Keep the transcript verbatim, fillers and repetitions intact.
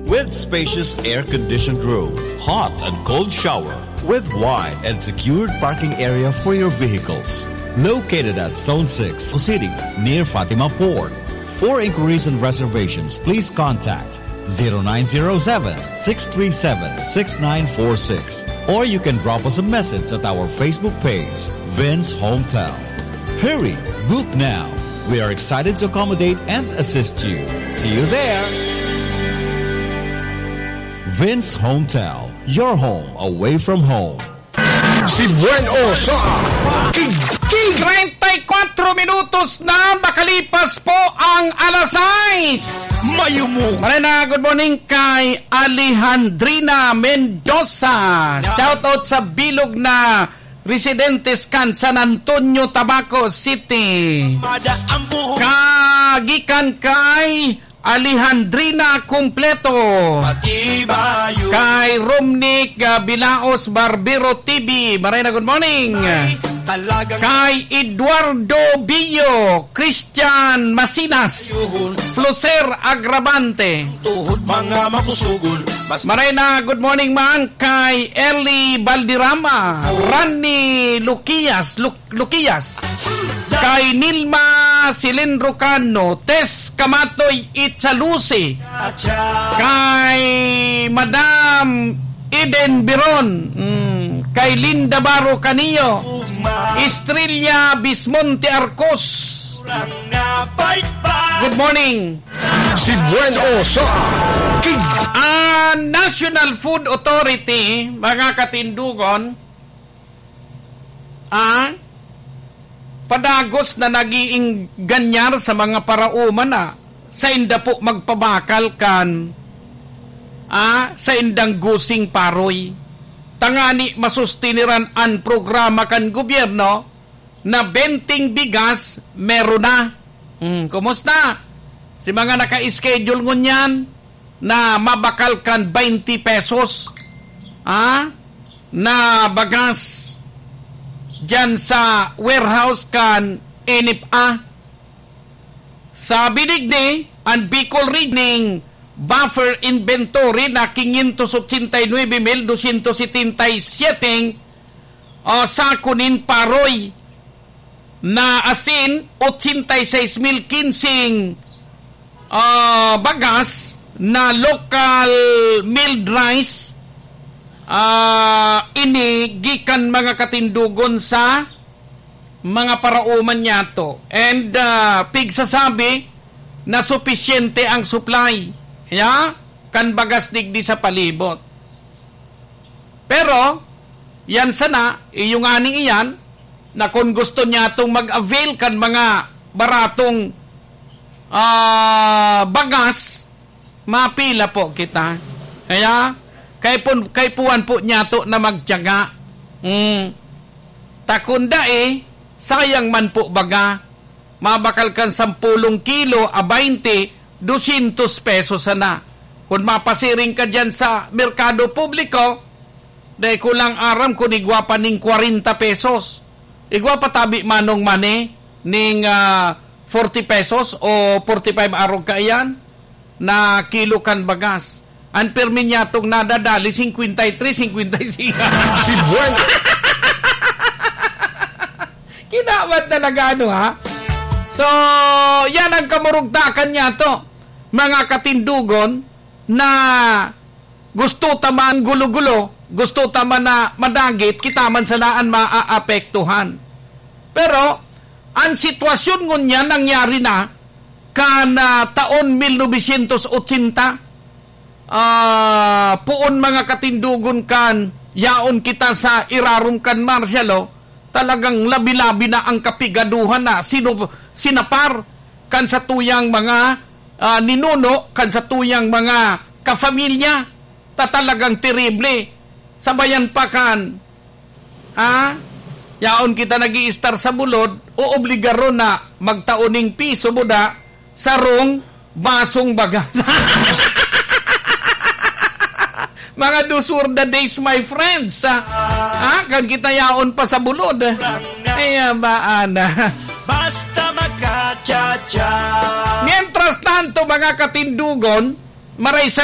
With spacious air-conditioned room, hot and cold shower, with wide and secured parking area for your vehicles. Located at Zone six, Fusini, near Fatima Port. For inquiries and reservations, please contact zero nine zero seven, six three seven, six nine four six, or you can drop us a message at our Facebook page, Vince Hotel. Hurry, book now. We are excited to accommodate and assist you. See you there. Vince Hotel, your home away from home. Si Buen O sa Kig Kig. Treinta y cuatro minutos na makalipas po ang alas sais. Mayumong. Marena, good morning kay Alejandrina Mendoza. Shout out sa bilog na residentes kan San Antonio, Tabaco City. Kagikan kay Alejandrina Completo. Kay Romnick, ah, Bilaos Barbero T V. Marena, good morning. Kay Eduardo Bio, Christian Masinas, Fluser Agravante. Tuhod mga makusugon. Marena, good morning man kay Ellie Valderrama, Randy Luquias, Lu- Luquias, kay Nilma Cilindro Cano, Tess Kamatoy Itzalusi, kay Madam Eden Biron, mm, kay Linda Baro Canio, Estrella Bismonte Arcos. Good morning. Si Buen O sa Kig. Ang National Food Authority, mga katindugon, ah, padagos na nag-iingganyar sa mga paraoma na sainda po magpabakal kan, ah, saindang gusing paroy. Tangani masustiniran an programa kan gobyerno na benteng bigas meron na. Hmm, kumusta? Si mga naka-schedule ngunyan na mabakal kan twenty pesos, ah, na bagas diyan sa warehouse kan N F A. Sa binigni, ang Bicol Region Buffer Inventory na quinientos ochenta y nueve mil doscientos setenta y siete, ah, sako nin paroy na asin, ochenta y seis mil quince, ah, bagas na local milled rice, ah, ini gikan mga katindugon sa mga paraoman niyato. And, ah, pigsasabi na supisyente ang supply, ya, kan bagas digdi sa palibot. Pero, yan sana, iyo ngani iyan, na kun gusto niyatong mag-avail kan mga baratong, ah, bagas, mapila po kita. Kaya, kay pun-, kay puwan po niyato na magtiyaga. Hmm. Ta kun dai, sayang man po baga. Mabakal kan sampulong kilo a baynte, dosyentos pesos sana. Kun mapasiring ka diyan sa merkado publiko, dai ko lang aram kun igwa pa ning kwarenta pesos. Igwa pa tabi manong mani ning, ah, forty pesos o forty-five arog kaiyan na kilo kan bagas. An pirmi niyatong nadadali, cincuenta y tres, cincuenta y cinco. Si Buen. Kinawan talaga, ano, ha? So, yan ang kamurugtakan niyato, mga katindugon, na gusto ta man gulo-gulo, gusto ta man na madagit, kita man sana an maaapektuhan. Pero, an sitwasyon ngunyan nangyari na kan, ah, taon mil novecientos ochenta, ah, poon mga katindugon kan yaon kita sa irarom kan martial law, talagang labi-labi na ang kapigaduhan na sinu-, sinapar kan satuyang mga, ah, ninuno, kan satuyang mga kapamilya, ta talagang terible. Sabayan pa kan, ah, yaon kita nag-iistar sa bulod, oobligaro na magtao ning piso buda, sarong basong bagas. Mga those were the days, my friends. Ah, ah, kan kita yaon pa sa bulod. Ay, abaan na. Basta makachacha. Mientras tanto, mga katindugon, maray sa